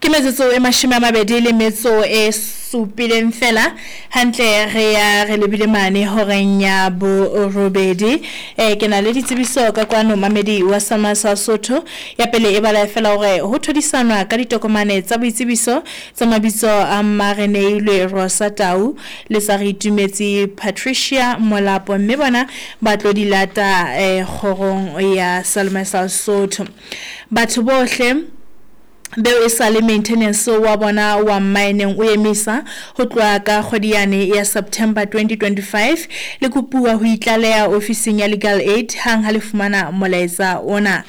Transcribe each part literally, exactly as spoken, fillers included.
Ke metsotso e mashome a mabedi le metso e supileng fela hantle re ya re lebile mane horeng ya borobedi. Eh ke na le ditsebiso ka kwano mamedi wa Sama sa Sotho. Ya pele e bala fela hore ho thodisanwa ka ditokomane tsa boitsebiso tsa mabitso a Mareneilwe Rosa Tau le sa re itumetse Patricia Molapo, mme bona ba tlo di lata eh kgorong ya Salome sa Sotho. Batho bohle beo e sa le maintenance wa bona wa mmaeneng o emisa ho tloha ka kgwedi yane ya September twenty twenty-five, le kopuwa ho itlaleha ofising ya Legal Aid hang ha le fumana molaetsa ona.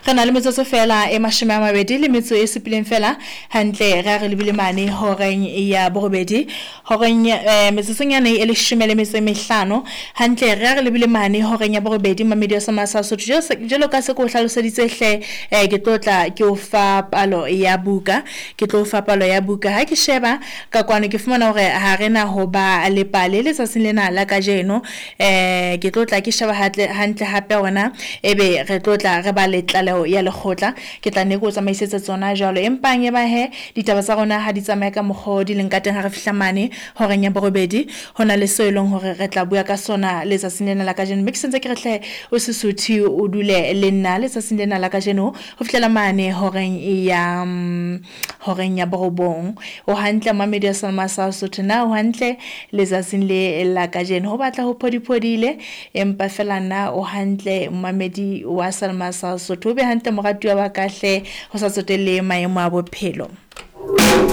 Re na le metsotso fela e mashome a mabedi le metso e supileng fela hantle re a re lebile mane horeng ya borobedi, horeng eh, metsotsong yane e leshome le metso e mehlano hantle re a re lebile mane horeng ya borobedi. Mamedi wa Sama sa Sotho, jwalo ka se ke o hlaloseditse hle, eh, ke tlo tla ke o fa palo ya buka, ke tlo fa palo ya buka. Ha ke sheba ka kwano ke fumana hore ha re na ho ba le pale letsatsing lena la kajeno. Eh ke tlo tla ke sheba hantle hantle hape hona ebe re tlo tla re ba le tlaleho ya lekgotla, ke tla ne ke o tsamaisetsa tsona jwalo. Empa e ba he ditaba tsa rona ha di tsamaye ka mokgwa o di leng ka teng ha re fihla mane horeng ya borobedi, ho na le seo e leng hore re tla bua ka sona letsatsing lena la kajeno. Mme ke sentse ke re hle o se suthe o dule le nna letsatsing lena la kajeno ho fihlela mane horeng ya horeng ya borobong. O hantle mamedi wa Salma sa Sotho, na o hantle letsatsing le la kajeno? Ho batla ho phodiphodile empa fela na o hantle mamedi wa Salma sa Sotho? O be hantle moratuwa wa ka hle, ho sa tsotelle maemo a bophelo.